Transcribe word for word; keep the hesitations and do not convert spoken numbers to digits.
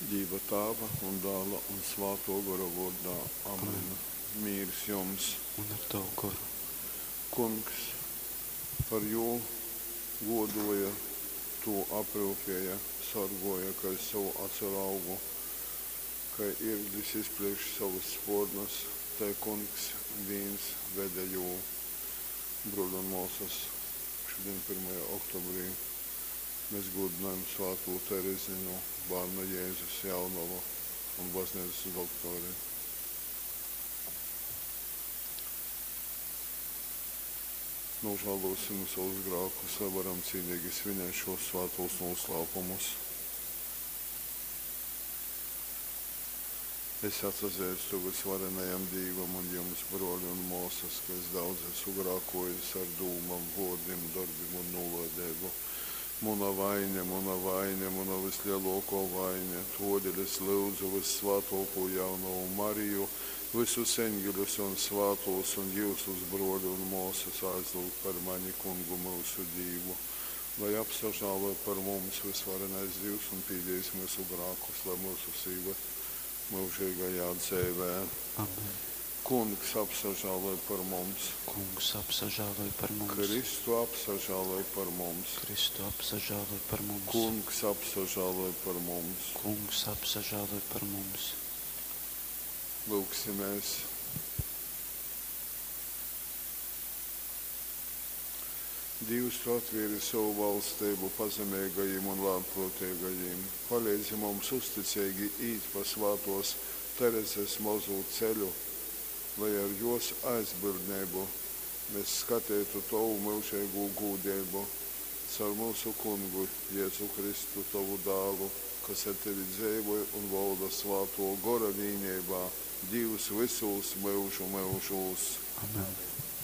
Dīva Tāva un Dāla un Svātō Gora vōrdā. Amen. Amen. Mīrs jums! Un ar tavu goru. Kungs par jū gōdōja, tū apryupēja, sorgōja kai sovu acu raugu. Kai ierglis izplieš sovus spōrnus, tai Kungs vīns vede jū. Brōli un mōsas, šodien pirmajā oktobrī mēs gūdinājam svātū Terezinu, bārna Jēzus jaunavu un baznīcas doktori. Nožēlosim savus grēkus, lai varam cīnīgi svinēt šos svētos noslēpumus. Es atsazīstu visvarenajam Dīvam un jums, brōļi un māsas, ka es daudz esmu grēkojis ar dūmām, vōrdim, darbim un nolaideibu. Muna vaine, muna vaine, muna vislielākā vaine. Todēļ es lūdzu vissvētāko jaunavu Mariju, visus eņģeļus un svētos un jūsus, brōļi un māsas, aizlūgt par mani kungu mūsu Dīvu, lai apsažāloj par mums visvarenais Dievs un pīdīs mūsu grēkus, lai mūsu īved mūžīgajā dzīvē. Amen. Kungs apsažāloj par mums. Kungs apsažāloj par mums. Kristu apsažāloj par mums. Kristu apsažāloj par mums. Kungs apsažāloj par mums. Kungs apsažāloj par mums. Lūgsimies. Dievs, tu atvēri savu valstību pazemīgajiem un lēnprātīgajiem. Palīdzi mums uzticīgi īt pa svētos Terezes mazo ceļu, lai ar jos aizbildnību mēs skatītu tavu mūžīgo gūdību caur mūsu kungu Jēzu Kristu, tavu dēlu, kas ar tevi dzīvoja un valda svāto gora vienībā, Dievs visos mūžu mūžos. Amen.